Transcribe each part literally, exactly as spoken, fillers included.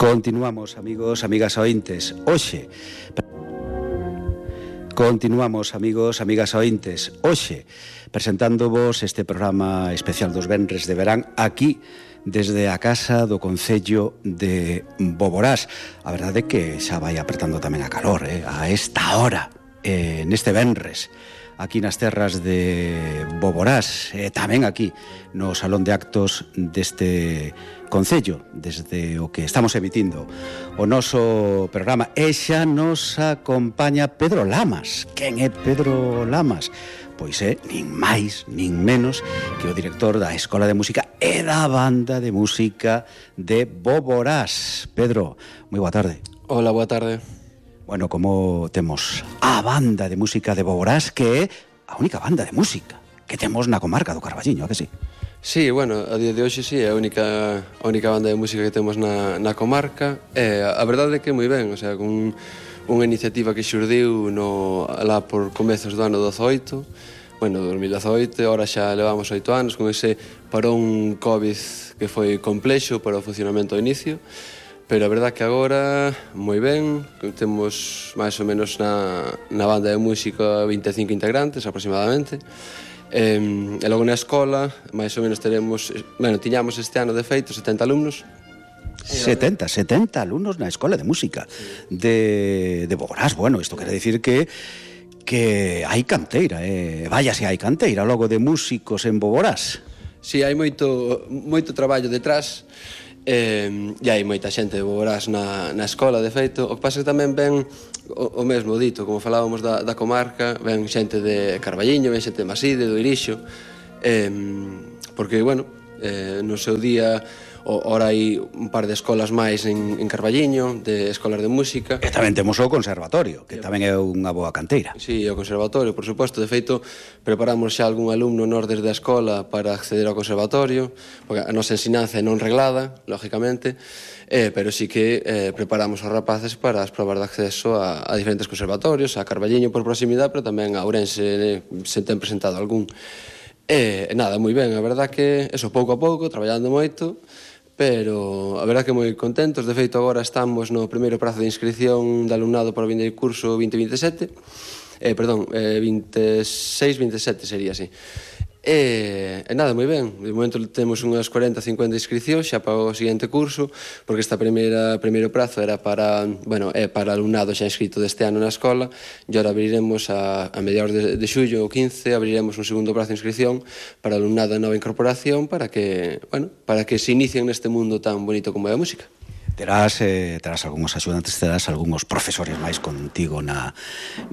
Continuamos, amigos, amigas ointes. Hoxe Continuamos, amigos, amigas ointes. Hoxe presentándovos este programa especial dos venres de verán aquí desde a casa do Concello de Boborás. A verdade é que xa vai apertando tamén a calor, eh? A esta hora, eh, neste venres, aquí nas terras de Boborás, e tamén aquí no Salón de Actos deste Concello, desde o que estamos emitindo o noso programa. E xa nos acompaña Pedro Lamas. Quen é Pedro Lamas? Pois é, nin máis, nin menos que o director da Escola de Música e da Banda de Música de Boborás. Pedro, moi boa tarde. Hola, boa tarde. Bueno, como temos a Banda de Música de Boborás, que é a única banda de música que temos na comarca do Carballiño, a que sí? Sí, bueno, a día de hoxe sí, é a única, a única banda de música que temos na, na comarca. E a verdade é que moi ben, o sea, con unha iniciativa que xurdiu no, lá por comezos do ano dezoito, bueno, dos mil dezoito, ahora xa levamos oito anos con ese parón COVID que foi complexo para o funcionamento ao inicio, pero a verdade que agora moi ben, temos máis ou menos na, na banda de música vinte e cinco integrantes aproximadamente. E, e logo na escola, máis ou menos teremos, bueno, tiñamos este ano de feito setenta alumnos. setenta, setenta alumnos na Escola de Música de, de Boborás. Bueno, isto quere dicir que que hai canteira, eh? Vaya se hai canteira logo de músicos en Boborás. Si, sí, hai moito, moito traballo detrás. E, e hai moita xente de Boborás na, na escola, de feito. O que pasa que tamén ven o, o mesmo dito, como falábamos da, da comarca, ven xente de Carballiño, ven xente de Maside, do Irixo, e, porque, bueno, eh, no seu día ora hai un par de escolas máis en, en Carballiño, de escolas de música. E tamén temos o conservatorio, que tamén é unha boa canteira. Sí, o conservatorio, por suposto. De feito, preparamos xa algún alumno nós desde a escola para acceder ao conservatorio, porque a nosa ensinanza é non reglada, lógicamente, eh, pero sí que eh, preparamos os rapaces para as probas de acceso a, a diferentes conservatorios, a Carballiño por proximidade, pero tamén a Ourense eh, se ten presentado algún. E eh, nada, moi ben, a verdad que eso pouco a pouco, traballando moito, pero a verdad que moi contentos. De feito, agora estamos no primeiro prazo de inscripción de alumnado para o vindeiro curso vinte veintesete, eh, perdón, eh, vinte e seis vinte e sete sería así. E, e nada, moi ben, de momento temos unhas cuarenta cincuenta inscripcións xa para o seguinte curso, porque esta primeira primeiro prazo era para, bueno, é para alumnado xa inscrito deste ano na escola, e agora abriremos a, a mediados de, de xullo ou quince, abriremos un segundo prazo de inscripción para alumnado de nova incorporación para que, bueno, para que se inicien neste mundo tan bonito como é a música. Terás, eh, terás algúns axudantes, terás algúns profesores máis contigo na,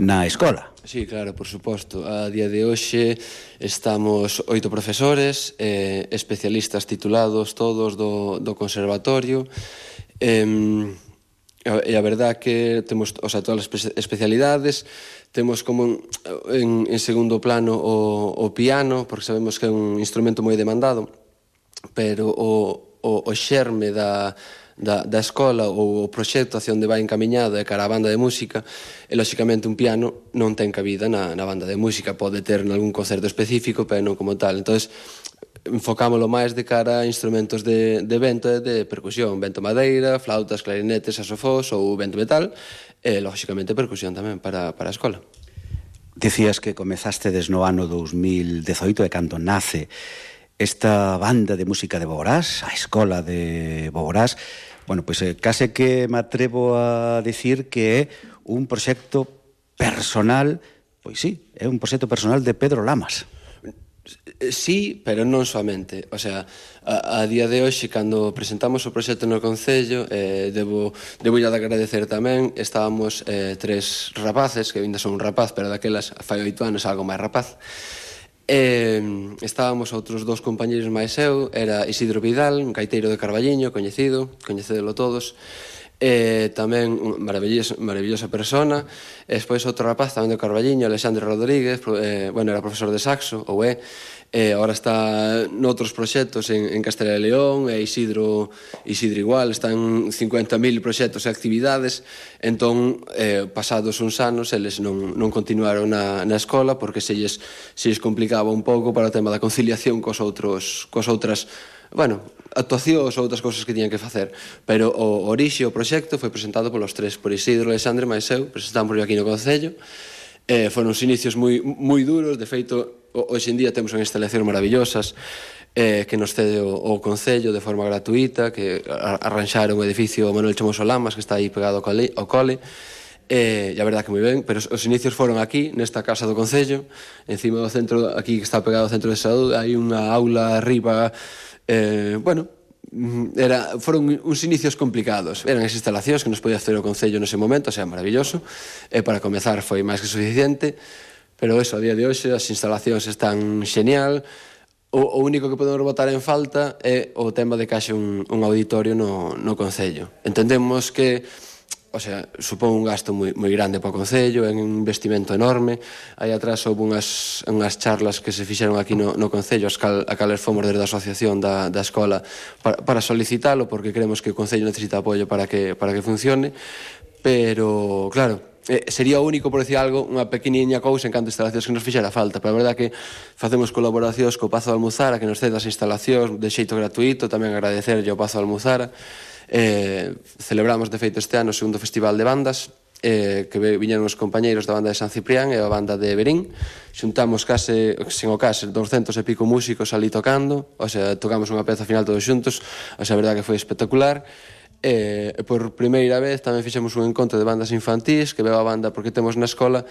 na escola. Sí, claro, por suposto. A día de hoxe estamos oito profesores, eh, especialistas titulados todos do, do conservatorio, eh, e a verdad que temos, o sea, todas as especialidades. Temos como en, en segundo plano o, o piano, porque sabemos que é un instrumento moi demandado, pero o, o, o xerme da Da, da escola ou o proxecto hacia onde vai encamiñado é cara a banda de música, e lóxicamente un piano non ten cabida na, na banda de música, pode ter nalgún concerto específico, pero non como tal. Entón, enfocámoslo máis de cara a instrumentos de, de vento e de percusión, vento madeira, flautas, clarinetes, saxofós ou vento metal, e lóxicamente percusión tamén para, para a escola. Decías que comezaste des no ano dos mil dezoito, e cando nace esta banda de música de Boborás, a Escola de Boborás. Bueno, pois pues, eh, case que me atrevo a dicir que é un proxecto personal, pois sí, é un proxecto personal de Pedro Lamas. Sí, pero non somente. O sea, a, a día de hoxe, cando presentamos o proxecto no Concello, eh, debo, debo de agradecer tamén, estábamos eh, tres rapaces, que ainda son un rapaz, pero daquelas fai oito anos algo máis rapaz. E estábamos outros dous compañeros máis eu, era Isidro Vidal, un gaiteiro de Carballiño, coñecido, coñecedelo todos, e tamén unha maravillosa, maravillosa persona, e despois outro rapaz tamén de Carballiño, Alexandre Rodríguez, eh, bueno, era profesor de saxo, ou é, e agora está noutros proxectos en, en Castela e León, e Isidro, Isidro igual, están cincuenta mil proxectos e actividades. Entón, eh, pasados uns anos, eles non, non continuaron na, na escola porque se lles, se lles complicaba un pouco para o tema da conciliación cos outros, cos outras, bueno, actuacións ou outras cousas que tiñan que facer, pero o orixe, o proxecto foi presentado polos tres, por Isidro, Alexandre e máis eu, presentamos aquí no Concello. Eh, foron uns inicios moi, moi duros, de feito, hoxe en día temos unhas instalacións maravillosas eh, que nos cede o, o Concello de forma gratuita, que arranxaron o edificio Manuel Chamoso Lamas, que está aí pegado ao cole, ao cole. Eh, e a verdad que moi ben, pero os inicios foron aquí, nesta casa do Concello, encima do centro, aquí que está pegado ao centro de saúde, hai unha aula arriba, eh, bueno, era, foron uns inicios complicados, eran as instalacións que nos podía hacer o Concello nese momento, o sea, maravilloso, e para comezar foi máis que suficiente, pero eso, a día de hoxe, as instalacións están xenial. O, o único que podemos botar en falta é o tema de que haxe un, un auditorio no, no Concello. Entendemos que, o sea, supón un gasto moi, moi grande para o Concello, é un investimento enorme. Aí atrás houve unhas, unhas charlas que se fixeron aquí no, no Concello, as cal, a cales fomos desde a asociación da, da escola para, para solicitalo, porque creemos que o Concello necesita apoio para que, para que funcione, pero, claro, eh, sería o único, por decir algo, unha pequeniña cousa en canto a instalacións que nos fixera falta, pero a verdad que facemos colaboracións co Pazo de Almuzara, que nos cede as instalacións de xeito gratuito, tamén agradecerlle ao Pazo de Almuzara. Eh, celebramos de feito este ano o segundo festival de bandas, eh, que viñeron os compañeiros da banda de San Ciprián e a banda de Berín. Xuntamos case, sen o case, doscientos e pico músicos ali tocando, o sea, tocamos unha peza final todos xuntos, o sea, a verdade que foi espectacular. E por primeira vez tamén fixemos un encontro de bandas infantís, que veo a banda porque temos na escola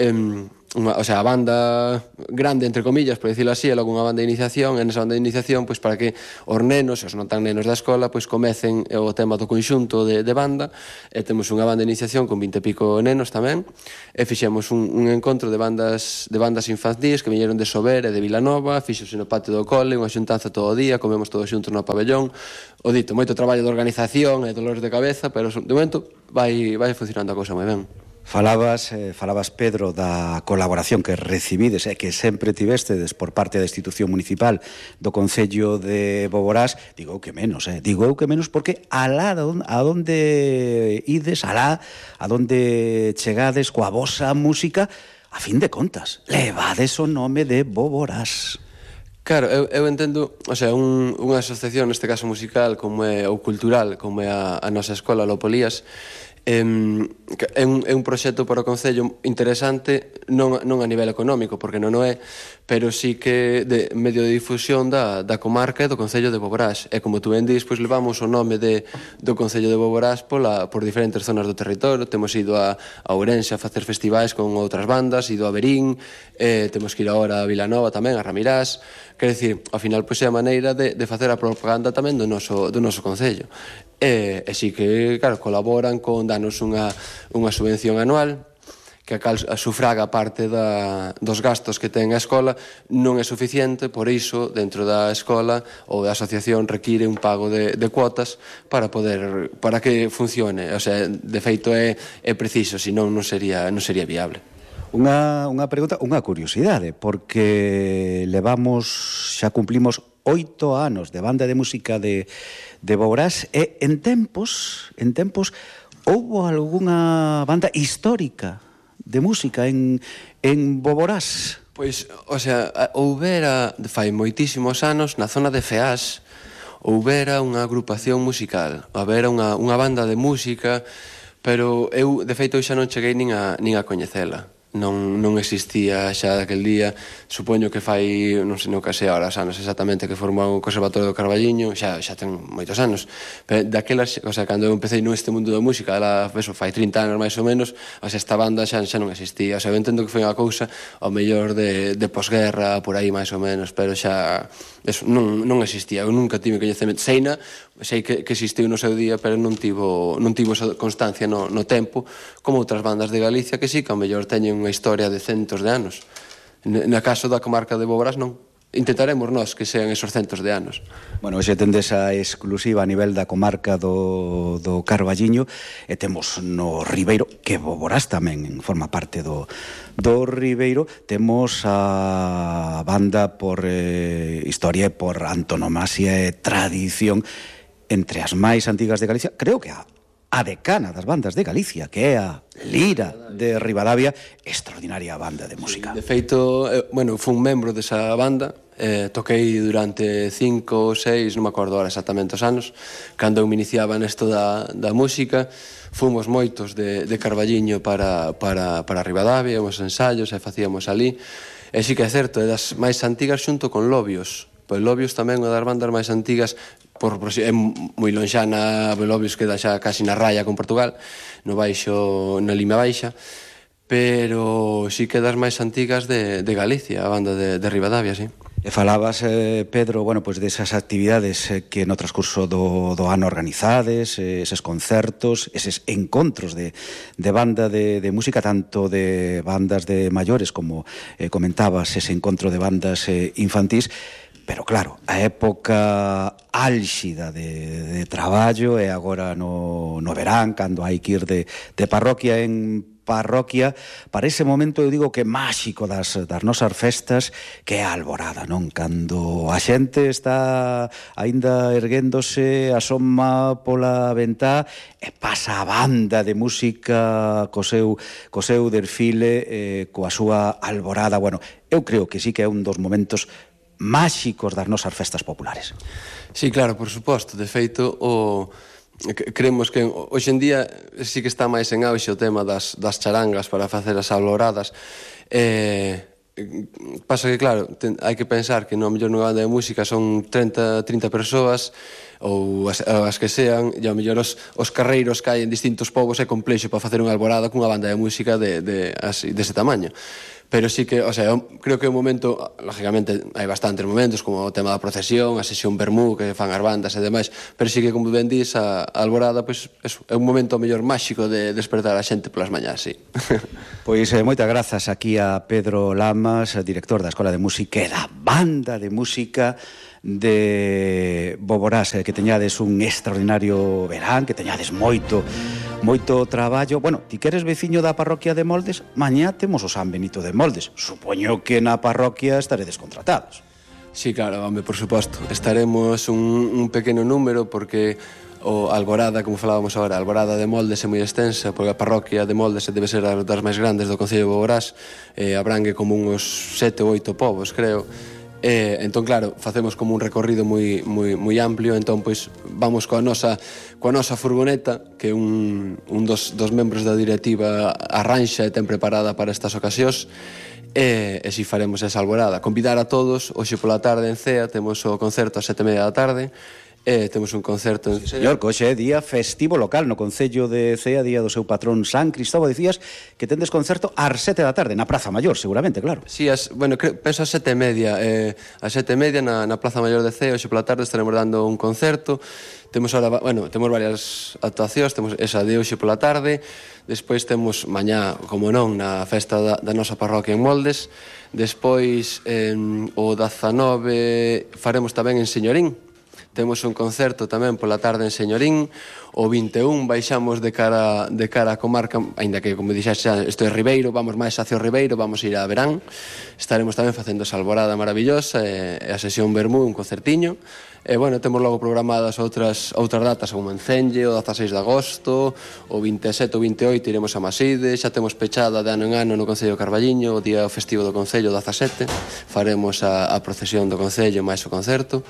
Um, unha, o sea, a banda grande, entre comillas, por decirlo así, é logo unha banda de iniciación, e nesa banda de iniciación, pois, para que os nenos, os non tan nenos da escola, pois, comecen o tema do conxunto de, de banda, e temos unha banda de iniciación con vinte e pico nenos tamén, e fixemos un, un encontro de bandas de bandas infantís que viñeron de Sober e de Vilanova, fixose no patio do cole, unha xuntanza todo o día, comemos todos xuntos no pabellón, o dito, moito traballo de organización e dolores de cabeza, pero de momento vai, vai funcionando a cousa moi ben. Falabas, eh, falabas, Pedro, da colaboración que recibides e eh, que sempre tivestedes por parte da institución municipal do Concello de Boborás. Digo que menos, eh? digo que menos porque alá a donde ides, alá a donde chegades coa vosa música, a fin de contas, levades o nome de Boborás. Claro, eu, eu entendo, o sea, un, unha asociación, neste caso musical, como é, ou cultural, como é a, a nosa escola Lopolías, É un, é un proxecto para o Concello interesante, non, non a nivel económico, porque non o é, pero sí que de medio de difusión da, da comarca e do Concello de Boborás. E como tú ben dis, pois levamos o nome de, do Concello de Boborás pola, por diferentes zonas do territorio. Temos ido a, a Ourense a facer festivais con outras bandas, ido a Berín, eh, temos que ir agora a Vilanova tamén, a Ramirás. Quer dicir, ao final, pois é a maneira de, de facer a propaganda tamén do noso, do noso Concello. E, e sí que, claro, colaboran con danos unha, unha subvención anual que a cal sufraga parte da, dos gastos que ten a escola, non é suficiente, por iso, dentro da escola ou da asociación require un pago de, de cuotas para poder, para que funcione. O sea, de feito é, é preciso, senón non sería, non sería viable. Unha, unha pregunta, unha curiosidade, porque levamos, xa cumplimos oito anos de banda de música de, de Boborás, e en tempos, en tempos, houbo algunha banda histórica de música en, en Boborás? Pois, o sea, houbera, fai moitísimos anos, na zona de Feás, houbera unha agrupación musical, houbera unha, unha banda de música, pero eu, de feito, xa non cheguei nin a, nin a coñecela. Non, non existía xa daquel día. Supoño que fai, non sei, non que sei ahora os anos exactamente que formou o Conservatorio do Carballiño, xa, xa ten moitos anos, pero daquelas, o sea, cando eu empecé neste mundo da música, ela, eso, fai trinta anos máis ou menos, o sea, esta banda xa, xa non existía. O sea, eu entendo que foi unha cousa ao mellor de, de posguerra, por aí máis ou menos, pero xa eso, non, non existía. Eu nunca tive coñecemento. Seina, sei que, que existiu no seu día, pero non tivo, non tivo esa constancia no, no tempo, como outras bandas de Galicia que sí, que ao mellor teñen unha historia de centos de anos. Na caso da comarca de Boborás non. Intentaremos nós que sean esos centos de anos. Bueno, hoxe tendes a exclusiva a nivel da comarca do, do Carballiño, e temos no Ribeiro, que Boborás tamén forma parte do, do Ribeiro, temos a banda por eh, historia e por antonomasia e tradición entre as máis antigas de Galicia, creo que a a decana das bandas de Galicia, que é a Lira de Ribadavia, extraordinaria banda de música. De feito, eh, bueno, fui un membro desa banda, eh, toquei durante cinco ou seis, non me acordo ahora exactamente os anos, cando eu me iniciaba nesto da, da música. Fomos moitos de, de Carballiño para, para, para Ribadavia, os ensaios, e facíamos ali. E sí que é certo, é das máis antigas xunto con Lobios. Pois Lobios tamén é das bandas máis antigas, por, por, é moi lonxana, Lobios queda xa casi na raya con Portugal, no baixo, na Lima Baixa, pero sí que das máis antigas de, de Galicia, a banda de, de Ribadavia, sí. E falabas, eh, Pedro, bueno, pois desas actividades eh, que no transcurso do, do ano organizades, eh, eses concertos, eses encontros de, de banda de, de música, tanto de bandas de maiores como eh, comentabas, ese encontro de bandas eh, infantís. Pero claro, a época álxida de, de traballo é agora no, no verán, cando hai que ir de, de parroquia en parroquia, para ese momento eu digo que máxico das, das nosas festas, que é a alborada, non? Cando a xente está aínda erguéndose, asoma pola ventá e pasa a banda de música co seu, co seu desfile, eh, coa súa alborada. Bueno, eu creo que sí que é un dos momentos máxicos das nosas festas populares. Sí, claro, por suposto. De feito, o... creemos que hoxe en día sí que está máis en auxe o tema das, das charangas para facer as alboradas. Eh, pasa que, claro, ten, hai que pensar que no mellor nunha banda de música son treinta, trinta persoas ou as, as que sean, e ao mellor os, os carreiros que hai en distintos povos é complexo para facer unha alborada cunha banda de música de, de, así, dese tamaño. Pero sí que, o sea, eu creo que é un momento, lógicamente hai bastantes momentos, como o tema da procesión, a sesión vermú que fan as bandas e demais, pero sí que, como ben dís, a, a alborada, pois, eso, é un momento mellor máxico de despertar a xente polas mañás, sí. Pois eh, moitas grazas aquí a Pedro Lamas, director da Escola de Música e da Banda de Música de Boborás, eh, que teñades un extraordinario verán, que teñades moito moito traballo. Bueno, ti que eres veciño da parroquia de Moldes, mañá temos o San Benito de Moldes. Supoño que na parroquia estaredes contratados. Sí, claro, home, por suposto. Estaremos un, un pequeno número porque o Alborada, como falábamos agora, a Alborada de Moldes é moi extensa, porque a parroquia de Moldes debe ser das máis grandes do Concello de Boborás, eh, abrangue como uns sete ou oito povos, creo. Eh, entón, claro, facemos como un recorrido moi, moi, moi amplio, entón, pois, vamos coa nosa, coa nosa furgoneta, que un, un dos, dos membros da directiva arranxa e ten preparada para estas ocasións, e, e si faremos esa alborada. Convidar a todos, hoxe pola tarde en Cea, temos o concerto a sete e media da tarde, e temos un concerto en... Sí, señor, que hoxe é día festivo local no Concello de Cea, día do seu patrón San Cristóbal. Dicías que tendes concerto ás sete da tarde, na Praza Maior, seguramente, claro. Sí, as, bueno, creo, penso a sete e media, eh, a sete e media na, na Plaza Maior de Cea, hoxe pola tarde estaremos dando un concerto. Temos ahora, bueno, temos varias actuacións, temos esa de hoxe pola tarde, despois temos mañá, como non, na festa da, da nosa parroquia en Moldes, despois eh, o dezanove faremos tamén en Señorín. Temos un concerto tamén pola tarde en Señorín. O vinte e un baixamos de cara, de cara a comarca, aínda que, como dixas xa, isto é Ribeiro, vamos máis hacia o Ribeiro, vamos ir a Verán. Estaremos tamén facendo esa alborada maravillosa e, e a sesión vermú, un concertiño. E, bueno, temos logo programadas outras outras datas, como en Cenge, o dezaseis de agosto, o vinte e sete ou vinte e oito iremos a Maside, xa temos pechada de ano en ano no Concello de Carballiño, o día festivo do Concello, dezasete, faremos a, a procesión do Concello máis o concerto.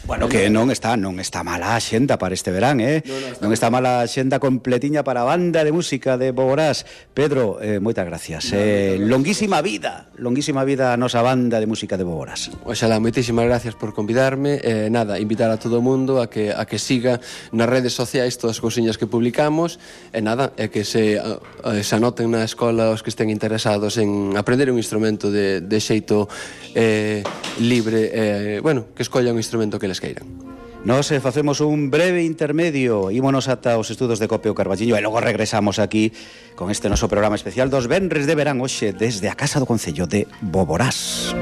Bueno, que non está non está mala a xenda para este verán, eh? No, no, está non está mala a xenda completiña para a Banda de Música de Boborás. Pedro, eh, moitas gracias. No, eh, longuísima vida, longuísima vida a nosa Banda de Música de Boborás. Oxalá, moitísimas gracias por convidarme. Eh, nada, invitar a todo o mundo a que a que siga nas redes sociais todas as cousiñas que publicamos. E nada, é que se, eh, se anoten na escola os que estén interesados en aprender un instrumento de, de xeito eh, libre, eh, bueno, que escolla un instrumento que les queiran. Nos eh, facemos un breve intermedio, ímonos ata os estudos de Copio Carballiño e logo regresamos aquí con este noso programa especial dos venres de verán hoxe desde a Casa do Concello de Boborás.